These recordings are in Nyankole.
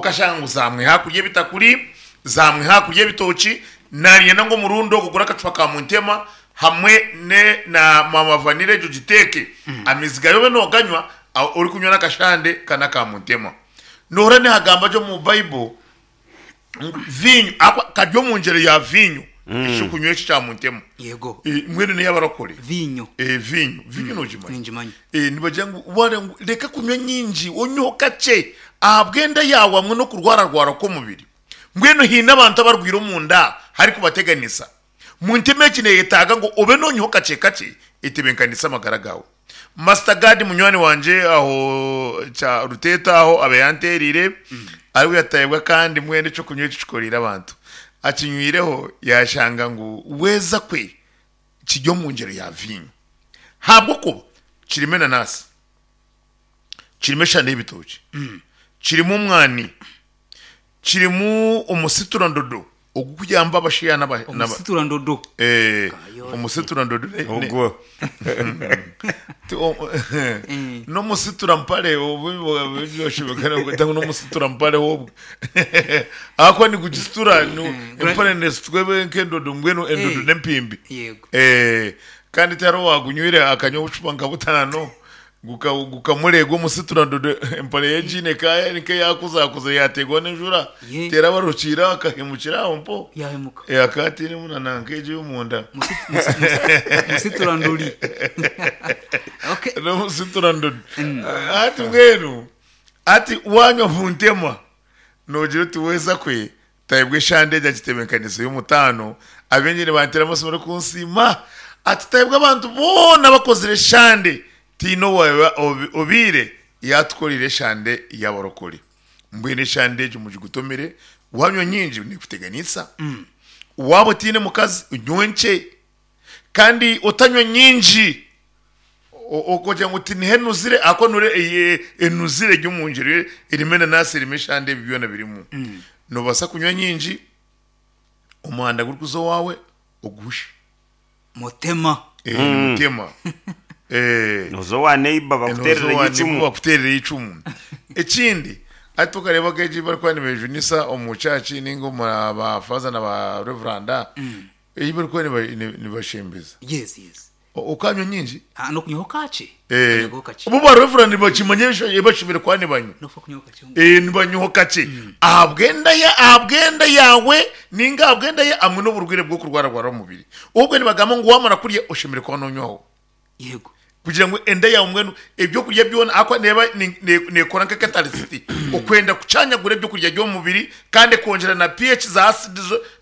Okashanga ngu zaamwiha kurya ebitakuri, zaamwiha kurya ebitookye, naanyenda ngu omurundi ogu ogure akacupa ka Muntema hamwe ne na Mama Vanilla egyo ogiteeke. Amaizi gayo obe nooganywa orikunywa n'akashande ka n'aka Muntema. Nohurira nihagamba gye omu Bible ngu viinyo ahabw'okuba kari omu ngyero ya viinyo ekyokunywa eki ekya Muntema. Yego. Mbwenu n'ey'abarokore. Viinyo. Viinyo. Viinyo noogimanya? Ningimanya. Nibagira ngu wareeba ngu reka kunywa nyingi onyweho kakye ahabw'enda yaawe hamwe n'okurwararwara kw'omubiri. Mbwenu haine abantu abarwaire omunda harikubateganisa. Muntema egi neyetaaga ngu obe nonywaho kakye kakye etebenkanise amagara gaawe. Master Gad munywani wangye aho kya Ruteeta aho abe yanteereire ariwe yataayibwa kandi mbwenu ekyokunywa eki kikoreire abantu. Akinywireho yashanga ngu weeza kwe kiri omu ngyero ya viinyo ahabw'okuba kirimu enanasi, kirimu eshande y'ebitookye, kirimu omwani, Kirimu omusiturandodo ogukuyamba abashaija n'aba n'aba Omusiturandodo. Eh, Kayote. omusiturandodo ne- ne- Ogwo. Ti- o- n'omusiturampare obu obu- n'omusiturampare obwo ahakuba nigugisitura nu- empare nesitwa ebe nk'endodo mbwenu endodo Eh. n'empimbi Yego. Eh, kandi tihariho owagunywire akanywa obucupa nka butaano Gukamureega omusiturandodo empare ye egiine eka nk'eyakuzakuza yaateerwa n'enjura Ye. terabarukiire aho akahemukira aho mpo. Yaahemuka. Eh, akaba atainemu na nanka egyo ey'omunda. Musituranduri. Okay. N'omusiturandodi. Hati mbwenu hati waanywa Buntema noogira oti weeza kwe Tayebwa eshande egyo agitebeekanisa ey'omutaano. Abaingi nibanteera amatsiko barikunsiima. Ati Tayebwa abantu boona abakozire eshande tihaine owaabe obaire yaatukoreire eshande y'abarokore. Mbwenu eshande egyo mugigutomere, waanywa nyingi neekuteganisa. Waaba otaine mukazi onywe nkye. Kandi otanywa nyingi ogira ngu tiniho enuzire ahakuba noreeba enuzire eri omu ngyero erimu enanasi erimu eshande ebi byona birimu. Noobaasa kunywa nyingi omuhanda gurikuza owaawe oguhushe. Mutema. Mutema. Nooza owa neighbour bakuteerereyo eicumu. Bakuteerereyo eicumu. Ekindi hati okareeba nk'egi ei barikuba nibejunisa omu church ninga omu ba faaza na ba reveranda, Ei barikuba nibashembeza. Yes, yes. Okanywa nyingi? Ah, n'okunywaho kakye. Eh, Okanywaho kakye. bo ba reverend bakimanya ebisho- ebashemeriire kuba nibanywa. N'okufa kunywaho kakye. Eh, nibanywaho kakye. Ahabw'enda ya ahabw'enda yaawe ninga ahabw'enda ye hamwe n'oburwaire bw'okurwararwara omubiri. Obwe nibagamba ngu wamara kurya oshemereire kuba nonywaho. Yego. Kugira ngu enda yaawe mbwenu ebyokurya byona ahakuba neeba neekora nka catalyst okwenda kucanyagura ebyokurya by'omubiri kandi ekongyera na pH za acid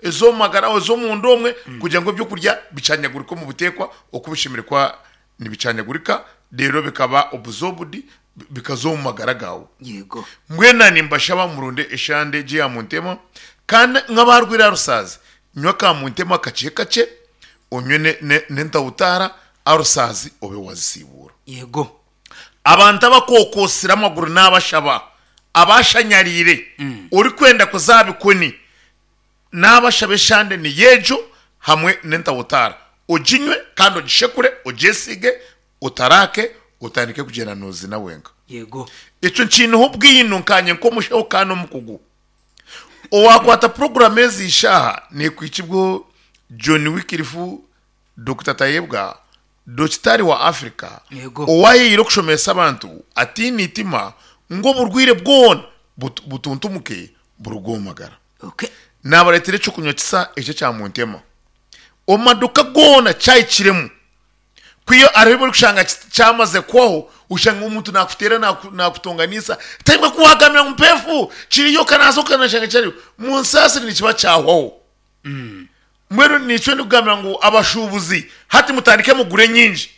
ez'omu magara ez'omunda omwe kugira ngu ebyokurya bicanyagurike omu buteekwa oku bishemereire kuba nibicanyagurika reero bikaba absorbed bikaza omu magara gaawe. Yego. Mbwenu naanye nimbashaba muronde eshande egyo eya Muntema kandi nk'abaarwaire aha rusaazi nywa aka Muntema kakye kakye onywe n'entawutaara arusaazi obe wazisiibuura. Yego. Abantu abakookoosire amaguru naabashaba, abashanyariire, orikwenda kuza aha bikoni, naabashaba eshande niyo egyo hamwe n'entawutaara. Oginywe kandi ogishekure, ogyesiige, otaraake, otandike kugyenda noozina wenka. Yego. Ekyo nkiineho obwino nkaanye nk'omushaho kandi omukugu. Owaakwata puroguraamu ezi ishaaha neekwikibwaho John Wycliffe Dokita Tayebwa, dokitari wa Africa Yego. owaayeire okushomesa abantu ataine itima ngu oburwaire bwona butuntumuke buruge omu magara. Okay. Naabareetera eky'okunywa kisa eki ekya Muntema. Omu maduuka goona kyahikiremu. Ku hariho ebi orikushanga kyamaze kuhwaho, oshanga omuntu naakuteera naakutonganisa, Tayebwa ku waagambira ngu mpeefu kiriyo kanaaza okanashanga kyariyo. Munsaasire nikiba kyahwaho. Mbwenu nikyo ndikugambira ngu abashuubuzi hati mutandike mugure nyingi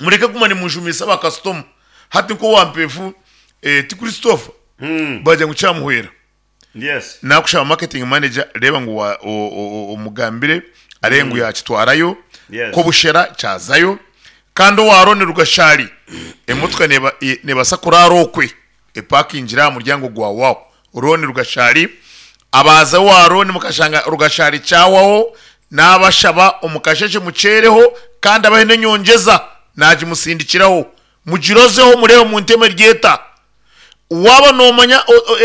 mureke kuguma nimujumiisa bakasitoma. Hati nk'owa Mpeefu eh, ti Christopher bagira ngu kyamuhwera Yes. nakushaba marketing manager reeba ngu wa- o- o- o- omugambire areebe ngu yakitwarayo Yes. ko bushera kyazayo kandi owa Ronnie Rugashari emotoka neba- e- nebaasa kuraara okwe epakingire aha muryango gwa wawo Ronnie Rugashari abaaza owa Ronnie mukashanga Rugashari kyawaho nabashaba omukasheshe mukyereho kandi abahe n'enyongyeza nagimusindikiraho mugirozeho mureebe munteme ryeta waaba nomanya